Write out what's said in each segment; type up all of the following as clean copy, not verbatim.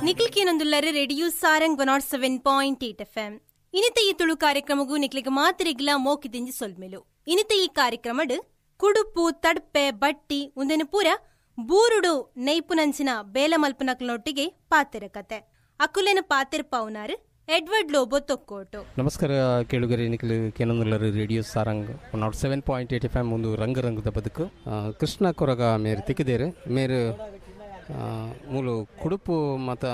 ನಿಕ್ಲಿಕೇನೊಂದುಲ್ಲರೆ radio Sarang 107.8 FM. ಇನಿತ ಈ ತುಳು ಕಾರ್ಯಕ್ರಮಗೂ ನಿಕ್ಲಿಗೆ ಮಾತ್ರಿಗ್ಲ ಮೋಕಿದಿಂಜಿ ಸೊಲ್ಮೆಲು. ಇನಿತ ಈ ಕಾರ್ಯಕ್ರಮಡು ಕುಡುಪು ತಡ್ಪೆ ಬಟ್ಟಿ ಉಂದೆನು ಪೂರ ಬೂರುಡು ನೈಪುನಂಚಿನ ಬೇಲೆ ಮಲ್ಪನಕ್ಲನೊಟ್ಟಿಗೆ ಪಾತೆರ ಕತೆ. ಅಕುಲೆನ ಪಾತೆರ್ಪಾವುನಾರು ಎಡ್ವರ್ಡ್ ಲೋಬೋ ತೊಕ್ಕೋಟು. ನಮಸ್ಕಾರ ಕೇಳುಗರೆ, ನಿಖಿಲ್ ಕೇನಂದುಲ್ಲರು radio Sarang 107.8 FM ಒಂದು ರಂಗ ರಂಗದ ಬದುಕು. ಕೃಷ್ಣ ಕೊರಗ ಮೇರು ತಿಕ್ಕಿದೇರು ಮೇರು ಮೂಲು ಕುಡುಪು ಮತ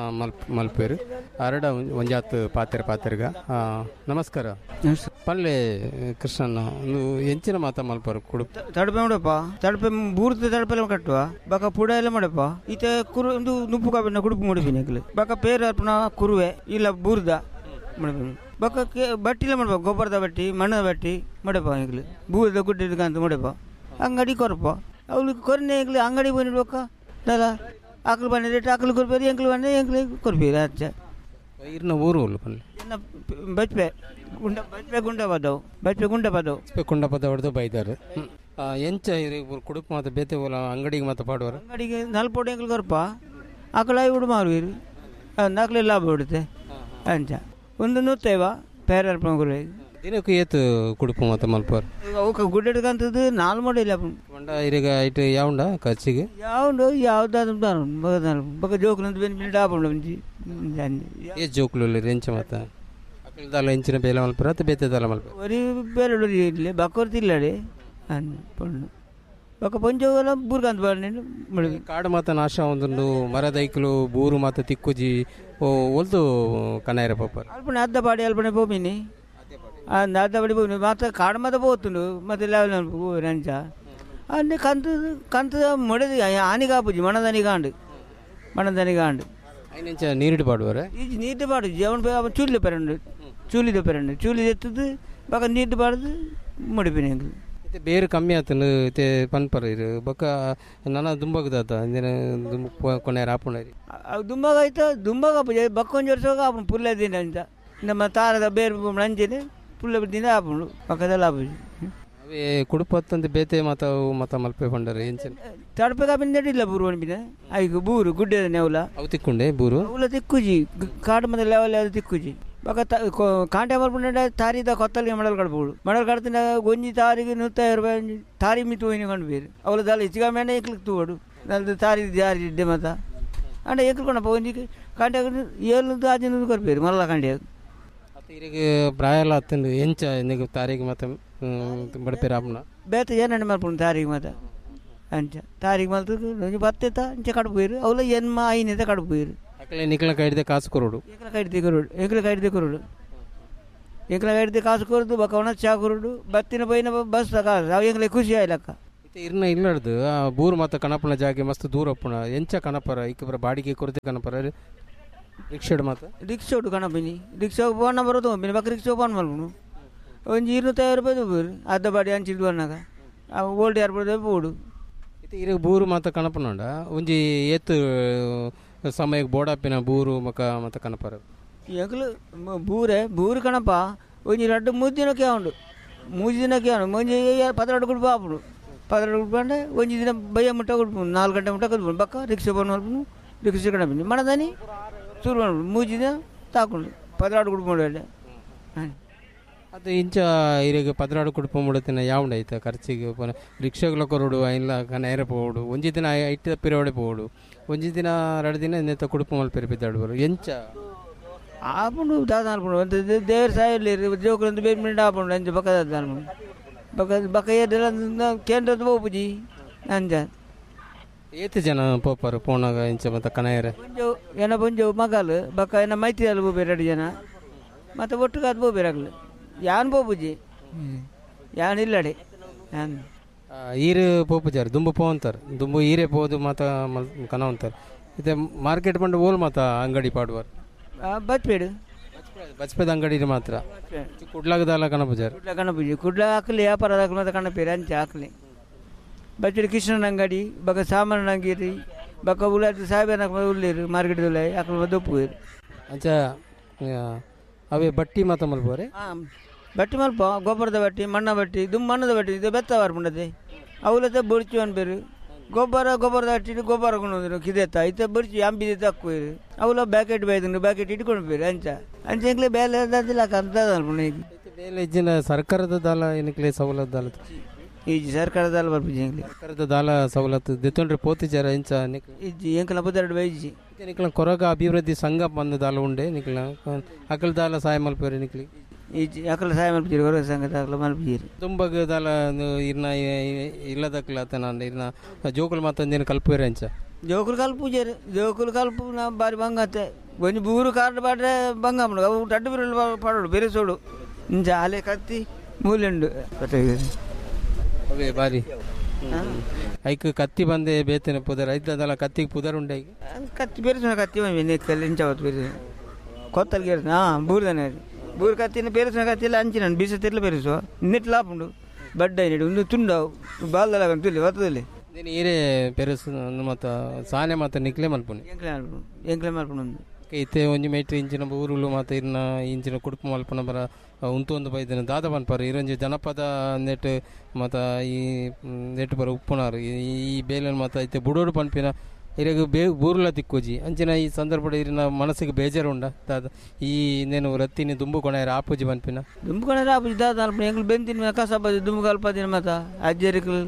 ಮಲ್ಪೇರು ಅರಡ ಒಂಜಾತ್ ಪಾತೆರ ಪಾತೆರ್ಗ. ನಮಸ್ಕಾರ ಪಲ್ಲೆ ಕೃಷ್ಣನ, ಒಂದು ಎಂಚಿನ ಮಾತ ಮಲ್ಪರು ಕುಡುಪು? ತಡಪೆ ಮಾಡಪ್ಪ, ತಡಪೆ ಬೂರ್ದ ತಡಪೆಲ್ಲ ಕಟ್ಟುವ ಬಕ ಪುಡ ಎಲ್ಲ ಮಾಡಪ್ಪ. ಈತ ಕುರು ಒಂದು ನುಪ್ಪು ಕಾಪಿನ ಕುಡುಪು ಮುಡಿಪಿನ ಬಕ ಪೇರು ಅರ್ಪಣ ಕುರುವೆ ಇಲ್ಲ ಬೂರ್ದ ಮಾಡಪಿನ ಬಕ ಬಟ್ಟಿಲ್ಲ ಮಾಡಪ್ಪ, ಗೊಬ್ಬರದ ಬಟ್ಟಿ ಮಣ್ಣದ ಬಟ್ಟಿ ಮಾಡಪ್ಪ. ಈಗಲೂ ಬೂರ್ದ ಗುಡ್ಡ ಅಂತ ಮಾಡಪ್ಪ. ಅಂಗಡಿ ಕೊರಪ್ಪ ಅವ್ಳಿಗೆ ಕೊರನೆ ಈಗಲೂ ಅಂಗಡಿ ಬಂದಿಡ್ಬೇಕ ದಲ್ಲ ಆಕಳು ಬಂದ ರೇಟ್ ಆಕಳು ಕೊರ್ಪೇರಿ, ಎಂಕ್ಲು ಬಂದ ಎಂಕ್ಲು ಕೊರ್ಪೇರಿ. ಅಚ್ಚ ಇರ್ನ ಊರು ಒಲ್ಲು ಪನ್ಲೆ? ಬಚ್ಪೆ ಗುಂಡ, ಬಚ್ಪೆ ಗುಂಡ ಪದವು, ಬಚ್ಪೆ ಗುಂಡ ಪದವು, ಬಚ್ಪೆ ಗುಂಡ ಪದ ಹೊಡೆದು ಬೈದಾರು. ಎಂಚ ಕುಡುಪು ಮಾತ ಬೇತೆ ಓಲ ಅಂಗಡಿಗೆ ಮಾತ ಪಾಡುವರು? ಅಂಗಡಿಗೆ ನಲ್ಪೋಡು ಎಂಕ್ಲು ಕೊರ್ಪ, ಆಕಳ ಐವುಡು ಮಾರುವೀರು, ನಾಲ್ಕಲೆ ಲಾಭ ಬಿಡುತ್ತೆ. ಅಂಚ ಒಂದು ನೂತ್ತೈವ ಪೇರ ಗುರು ದಿನಕ್ಕೂ ಏತು ಕುಡುಪು ಮಾತ ಮಲ್ಪರು? ಅವಕ್ಕೆ ಗುಡ್ಡೆಡ್ಕಂತದ್ದು ನಾಲ್ ಮಾಡಿಲ್ಲ ಒಂಡ ಇರಿಗ ಐಟ್ ಯಾವುಂಡ ಖರ್ಚಿಗೆ ಯಾವುಂಡು ಯಾವ್ದಾದ್ರು ಬಕ ಜೋಕುಲಂತ ಬೆನ್ ಬಿಂಡ ಆಪುಂಡು ಒಂಜಿ. ಏ ಜೋಕುಲು ಎಂಚ ಮಾತ ಅಕಲ್ದಾಲ ಎಂಚಿನ ಬೇಲೆ ಮಲ್ಪರ ಅತ್ತ ಬೇತೆ ದಾಲ ಮಲ್ಪರ? ಒರಿ ಬೇಲೆ ಒರಿ ಇಲ್ಲ ಬಕ್ಕೊರ್ತಿ ಇಲ್ಲಡೆ ಅನ್ ಪೊಣ್ಣು ಬೊಕ ಪೊಂಜೋವಲ ಬೂರ್ಗಂತ ಬಾರ್ನೆ. ಕಾಡು ಮಾತ ನಾಶ ಒಂದುಂಡು, ಮರದೈಕ್ಲು ಬೂರು ಮಾತ ತಿಕ್ಕುಜಿ ಓ ಒಲ್ದು ಕನಾಯರ ಪೋಪರ್ ಅಲ್ಪನೆ ಅರ್ಧ ಪಾಡಿ ಅಲ್ಪನೆ ಪೋಪಿನಿ ಅರ್ಧ ಪಾಡಿ ಪೋಪಿನಿ ಮಾತ ಕಾಡು ಮಾತ ಪೋತುಂಡು ಮತ್ತೆ ಲೆವೆಲ್ ರಂಚ ಅన్ని ಕಂತು ಕಂತು ಮೊಡೆದು ಆನಿ ಕಾಪುಜಿ ಮಣದನಿ ಕಾಂಡು ಮಣದನಿ ಕಾಂಡು. ಐನೆಂಚ ನೀರಿಡು ಪಾಡುವರೆ? ಈ ನೀರು ಪಾಡು ಅವನು ಚೂಲಿ ಪೆರಂಡು, ಚೂಲಿದ ಪೆರಂಡು ಚೂಲಿ ಎತ್ತದು ಬಕ ನೀರು ಪಾಡ್ದು ಮುಡಿಪಿನಿ. ಇತ್ತೆ ಬೇರು ಕಮ್ಮಿ ಆತನು ಇತ್ತೆ ಪನ್ಪರ ಇರು ಬೊಕ ನನ ದುಂಬಗದಾತ ದುಂಬ ಕೊನೆಯರ ಆಪುಂಡರಿ. ಅವು ದುಂಬಗ ಆಯ್ತು ದುಂಬಗ ಆಪುಜಿ ಬಕ್ಕೊಂಜಿ ವರ್ಷ ಆಪುಂಡು ಪುಲ್ಲೆ ದಿನ ಅಂತ ನಮ್ಮ ತಾರದ ಬೇರು ನಂಜಿನ ಪುಲ್ಲೆ ದಿನ ಆಪುಂಡು ಪಕ್ಕದಲ್ಲಿ ಆಪುಜಿ. ಅವೇ ಕುಡುಪತ್ತಂದು ಬೇತೆ ಮಾತ ಮತ ಮಲ್ಪೆ ಪಂಡರೆ ಎಂಚಿನ ತಡಪೆ ಕಾಪಿನ ನಡಿಲ್ಲ ಬೂರು ಅನ್ಬಿನ ಐಕು ಬೂರು ಗುಡ್ಡೆ ನೆವಲ ಅವು ತಿಕ್ಕೊಂಡೆ ಬೂರು ಅವಲ ತಿಕ್ಕುಜಿ ಕಾಡು ಮತ್ತೆ ಲೆವೆಲ್ ಅದು ತಿಕ್ಕುಜಿ ಬಕ ಕಾಂಟೆ ಮಲ್ಪುಂಡ ತಾರಿದ ಕೊತ್ತಲಿಗೆ ಮಡಲ್ ಕಡ್ಬೋದು ಮಡಲ್ ಕಡ್ತಿನ ಒಂಜಿ ತಾರಿಗೆ 150 ರೂಪಾಯಿ ತಾರಿ ಮಿತ್ತು ಹೋಯ್ನ ಕಂಡು ಬೇರು ಅವಲ ದಾಲ ಹೆಚ್ಚಿಗೆ ಮೇನೆ ಎಕ್ಲಿಕ್ ತೂವಡು ನಲ್ದು ತಾರಿ ಜಾರಿ ಇಡ್ಡೆ ಮತ ಅಂಡ ಎಕ್ಲ್ಕೊಂಡಪ್ಪ ಒಂಜಿ ಕಾಂಟೆ ಏಳು ಆಜಿನ ಕೊರ್ಪೇರು ಮಲ್ಲ ಕಾಂಡೆ. ಇರಿಗೆ ಪ್ರಾಯ ಅತ್ತಂದು ಎಂಚ ನಿಗ ತಾರೀಖು ಮತ್ತೆ ಬಡಪೇರು ಆಪುನ ಬೇತೆ ಏನಂಡ ಮಲ್ಪುಂಡು ತಾರೀಖು ಮಾತ ಅಂಚ ತಾರೀಖು ಮಲ್ತು ಒಂಜಿ ಬತ್ತೆತ ಅಂಚ ಕಡ್ಪೇರು ಅವಲ ಎನ್ಮ ಐನೆತ ಕಡ್ಪೇರು. ಅಕಲೆ ನಿಕ್ಲ ಕೈಡ್ದೆ ಕಾಸು ಕೊರೋಡು, ಎಂಕ್ಲ ಕೈಡ್ದೆ ಕೊರೋಡು, ಎಂಕ್ಲ ಕೈಡ್ದೆ ಕೊರೋಡು, ಎಂಕ್ಲ ಕೈಡ್ದೆ ಕಾಸು ಕೊರೋದು ಬೊಕ ಒಣ ಚಾ ಕೊರೋಡು ಬತ್ತಿನ ಪೋಯಿನ ಬಸ್ ಕಾಸು ಅವು ಎಂಕ್ಲೆ ಖುಷಿ ಆಯ್ಲಕ್ಕ. ಇತ್ತೆ ಇರ್ನ ಇಲ್ಲಡ್ದು ಆ ಬೂರು ಮಾತ ಕಣಪನ ಜಾಗೆ ಮಸ್ತ್ ದೂರ ಅಪ್ಪುನ ಎಂಚ ಕಣಪರ ಇಕ್ಕ ಬಾಡಿಗೆ ಕೊರತೆ ಕಣಪರ ರಿಕ್ಷಾಡ್ ಮಾತ? ರಿಕ್ಷಾಡು ಕಣಪಿನಿ ರಿಕ್ಷಾ ಫೋನ್ ನಂಬರ್ ತೊಗೊಂಬಿನಿ ಬೊಕ ರಿಕ್ಷಾ ಫೋನ್ ಮಲ್ಪುನು ಒಂಜಿ 250 ರೂಪಾಯಿ ತಗೋರು ಅರ್ಧ ಬಾಡಿ ಅಂಚಿದ್ದು ಅನ್ನಾಗ ಓಲ್ಡ್ ಏರ್ಪೋರ್ಟ್ ಪೋಡು. ಇತ್ತೆ ಇರ ಬೂರು ಮಾತ ಕಣಪನಂಡ ಒಂಜಿ ಏತು ಸಮಯಕ್ಕೆ ಬೋಡಾಪಿನ ಬೂರು ಮಕ ಮತ ಕಣಪರ? ಎಂಕ್ಲು ಬೂರೆ ಬೂರು ಕಣಪ ಒಂಜಿ ರಡ್ಡು ಮೂರು ದಿನಕ್ಕೆ ಉಂಡು, ಮೂರು ದಿನಕ್ಕೆ ಉಂಡು ಒಂಜಿ 12 ಗುಡ್ಪ ಆಪುಂಡು 12 ಗುಡ್ಪ ಅಂದ್ರೆ ಒಂಜಿ ದಿನ ಬಯ್ಯ ಮುಟ್ಟ ಕೊಡ್ಪುಂಡು 4 ಗಂಟೆ ಮುಟ್ಟ ಕೊಡ್ಪುಂಡು ಬಕ್ಕ ರಿಕ್ಷಾ ಫೋನ್ ಮಲ್ಪುನು ರಿಕ್ಷಾ ಕಣಪಿನಿ ಮಣದಾನಿ ಶುರು ಮಾಡ್ಬಿಡು ಮೂರು ದಿನ ತಾಕೊಂಡು 12 ಗುಡ್ಪ ಮಾಡಿ. ಅದು ಇಂಚ ಇರಿಗೆ 12 ಕುಡುಪ ಮುಡತಿನ ಯಾವುಂಡ ಐತ ಖರ್ಚಿಗೆ ರಿಕ್ಷಾಗಳ ಕೊರಡು ಐನ್ಲ ನೇರ ಪೋಡು ಒಂಜಿ ದಿನ ಐಟ್ ಪಿರೋಡೆ ಪೋಡು ಒಂಜಿ ದಿನ 2 ದಿನ ನೆತ್ತ ಕುಡುಪು ಮಲ್ಪೆರು ಬಿದ್ದಾಡುವರು ಎಂಚ ಆಪುಂಡು ದಾದ ಅನ್ಪುಂಡು ದೇವ್ರ ಸಾಯಲ್ಲಿ ಜೋಕುಲಂದು ಬೇರೆ ಮಿಂಡ ಆಪುಂಡು ಅಂಚ ಬಕ್ಕದ ಅನ್ಪುಂಡು ಬಕ್ಕ ಬಕ್ಕ ಏರ್ದೆಲ್ಲ ಕೇಂದ್ರದ ಪೋಪುಜಿ ಅಂಚ. ಏತು ಜನ ಪೋಪರು ಪೋನಾಗ ಇಂಚ ಮತ್ತೆ ಕಣಯರೆ? ಪೊಂಜವು ಎನ ಪೊಂಜವು ಮಗಲು ಬಕ್ಕ ಎನ ಮೈತ್ರಿಯಲ್ಲಿ ಪೋಪೇರು 2 ಜನ ಮತ್ತು ಒಟ್ಟುಗಾದ ಪೋಪೇರು ಆಗಲು ಯಾನ್ ಪೋಪುಜಿ ಯಾನ್ ಇಲ್ಲಡೆ ಯಾನ್ ಈರು ಪೋಪುಜಾರು ದುಂಬು ಪೋಂತಾರೆ ದುಂಬು ಈರೇ ಪೋದು ಮಾತ ಕನ ಅಂತಾರೆ. ಇತ್ತೆ ಮಾರ್ಕೆಟ್ ಬಂದು ಓಲ್ ಮಾತ ಅಂಗಡಿ ಪಾಡುವರು? ಬಚ್ಪೇಡು ಬಚ್ಪೇದ ಅಂಗಡಿ ಮಾತ್ರ ಕುಡ್ಲಾಗದಲ್ಲ ಕಣಪುಜಾರು? ಕುಡ್ಲ ಕಣಪುಜಿ ಕುಡ್ಲ ಹಾಕಲಿ ವ್ಯಾಪಾರ ಮಾತ್ರ ಕಣಪೇರು ಅಂಚೆ ಹಾಕಲಿ ಬಚ್ಚಡಿ ಕೃಷ್ಣನ ಅಂಗಡಿ ಬಕ ಸಾಮಾನ ಅಂಗಡಿ ಬಕ ಉಳ್ಳಾಟ ಸಾಹೇಬನ ಉಳ್ಳೇರು ಮಾರ್ಕೆಟ್ ಉಳ್ಳ ಅಕಲ್ ದೊಪ್ಪುವೇರು. ಅಂಚ ಅವೇ ಬಟ್ಟಿ ಮಾತ ಮಲ್ಪೋರೆ? ಹಾಂ ಬಟ್ಟಿ ಮಲ್ಪ ಗೊಬ್ಬರದ ಬಟ್ಟಿ ಮಣ್ಣ ಬಟ್ಟಿ ದುಮ್ ಮಣ್ಣದ ಬಟ್ಟಿ ಇದು ಬೆತ್ತ ವಾರ್ಪುಂಡದೆ ಅವಲತೆ ಬೊಡ್ಚು ಅನ್ಪೇರು ಗೊಬ್ಬರ ಗೊಬ್ಬರದ ಅಟ್ಟಿ ಗೊಬ್ಬರ ಕೊಂಡು ಕಿದೆತ್ತ ಇತ್ತ ಬರ್ಚಿ ಅಂಬಿದೆ ತಕ್ಕೋರು ಅವಲ ಬ್ಯಾಕೆಟ್ ಬೈದಂಡು ಬ್ಯಾಕೆಟ್ ಇಟ್ಕೊಂಡು ಬೇರೆ ಅಂಚ ಅಂಚ ಎಂಕ್ಲೆ ಬೇಲೆ ಅಂತ ಬೇಲೆ ಇಜ್ಜಿನ ಸರ್ಕಾರದ ದಾಲ ಏನಕ್ಲೆ ಸವಲತ್ತು ದಾಲ ಇಜ್ಜಿ ಸರ್ಕಾರದ ದಾಲ ಬರ್ಪುಜಿ ಎಂಕ್ಲೆ ಸರ್ಕಾರದ ದಾಲ ಸವಲತ್ತು ದೆತ್ತೊಂಡ್ರೆ ಪೋತಿಜಾರ ಇಂಚ ಇಜ್ಜಿ ಎಂಕಲ ಪತ್ತೆರಡು ಬೈಜಿ ನಿಕ್ಲ ಕೊರಗ ಅಭಿವೃದ್ಧಿ ಸಂಘ ಬಂದ ದಾಲ ಉಂಡೆ ನಿಕ್ಲ ಅಕಲ್ ದಾಲ ಸಹಾಯ ಮಲ್ಪೇರು ನಿಕ್ಲಿ ಇಜ್ಜಿ ಅಕಲ ಸಹಾಯ ಮಲ್ಪುಜೀರಿ ಕೊರಗ ಸಂಘ ಅಕಲ ಮಲ್ಪುಜೀರಿ ದುಂಬಗ್ ದಾಲ ಇರ್ನ ಇಲ್ಲದಕ್ಲ ಆತನ ಇರ್ನ ಜೋಕುಲು ಮಾತಂದೇನು ಕಲ್ಪೇರು ಅಂಚ ಜೋಕುಲು ಕಲ್ಪುಜೇರು ಜೋಕುಲು ಕಲ್ಪು ನಾ ಬಾರಿ ಬಂಗತ್ತೆ ಒಂಜಿ ಬೂರು ಕಾರ್ಡ್ ಪಾಡ್ರೆ ಬಂಗ ಅವು ರಡ್ಡು ಬಿರಲು ಪಾಡೋಡು ಬೇರೆ ಸೋಡು ಇಂಚ ಅಲೆ ಕತ್ತಿ ಮೂಲೆಂಡು ಅವೇ ಬಾರಿ ಐಕ್ ಕತ್ತಿ ಬಂದೆ ಬೇತೇನೆ ಪುದರ್ ಐತದಲ್ಲ ಕತ್ತಿಗೆ ಪುದರ್ ಉಂಡೆ ಕತ್ತಿ ಬೇರೆ ಕತ್ತಿ ಇಂಚ ಬೇರೆ ಕೊತ್ತಲ್ಗೆ ಹಾಂ ಬೂರ್ದನೆ ಬೂರು ಕತ್ತಿನ ಪೇರಿಸುವ ಕತ್ತಿಲ್ಲ ಅಂಚಿನ ಬೀಸ ತಿರ್ಲ ಪೇರಿಸುವ ನೆಟ್ ಲಾಪುಂಡು ಬಡ್ಡ ನೆಡು ಒಂದು ತುಂಡವು ಬಾಲ್ದಲ ತುಲಿ ಒತ್ತದಲ್ಲಿ ನೀನು ಈರೇ ಪೆರುಸು ಮತ್ತು ಸಾನೆ ಮತ್ತು ನಿಕ್ಲೆ ಮಲ್ಪುನಿ ಎಂಕ್ಲೆ ಮಲ್ಪುನು ಎಂಕ್ಲೆ ಮಲ್ಪುನು ಇತ್ತೆ ಒಂಜಿ ಮೇಟ್ರಿ ಇಂಚಿನ ಊರುಲು ಮತ್ತು ಇರ್ನ ಇಂಚಿನ ಕುಡುಪು ಮಲ್ಪುನ ಬರ ಉಂತೊಂದು ಬೈದಿನ ದಾದ ಪನ್ಪರ್ ಇರೊಂಜಿ ಜನಪದ ನೆಟ್ ಮತ್ತು ಈ ನೆಟ್ ಬರ ಉಪ್ಪುನಾರು ಈ ಬೇಲನ್ ಮತ್ತು ಇತ್ತೆ ಬುಡೋಡು ಪನ್ಪಿನ ಇರಗ ಬೇ ಬೂರುಲ ತಿಕ್ಕೋಜಿ ಅಂಚಿನ ಈ ಸಂದರ್ಭ ಇರಿನ ಮನಸ್ಸಿಗೆ ಬೇಜಾರು ಉಂಡ ದಾದ ಈ ನೇನು ರತ್ತಿನಿ ದುಂಬು ಕೊಣೆಯರ ಆಪುಜಿ ಪನ್ಪಿನ ದುಂಬು ಕೊಣೆಯರ ಆಪುಜಿ ದಾದ ಅಲ್ಪ ಎಂಕ್ಲು ಬೆಂದಿನ ಕಸಬ ದುಂಬು ಕಲ್ಪದಿನ ಮತ ಅಜ್ಜರಿಕಲ್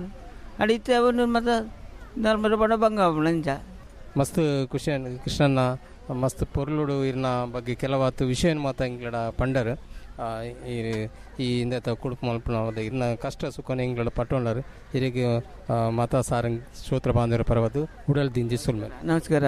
ಅಡಿ ಇತ್ತೆ ಅವನು ಮತ ನಾಲ್ಮರ ಬಡ ಬಂಗ ಅಂಚ ಮಸ್ತ್ ಖುಷಿ ಕೃಷ್ಣನ ಮಸ್ತ್ ಪೊರ್ಲುಡು ಇರ್ನ ಬಗ್ಗೆ ಕೆಲವಾತು ವಿಷಯ ಮಾತ ಇಂಗ್ಲಡ ಪಂಡರ್ ಈ ಈ ಇಂದತ ಕುಡುಪು ಮಲ್ಪುನ ಇರ್ನ ಕಷ್ಟ ಸುಖನ ಇಂಗ್ಲಡ ಪಟ್ಟೊಂಡರು ಇರಿಗೆ ಮಾತಾ ಸಾರಂಗ್ ಶ್ರೋತ್ರ ಬಾಂಧವರ ಪರವದು ಉಡಲ್ ದಿಂಜಿ ಸುಲ್ಮೆ. ನಮಸ್ಕಾರ.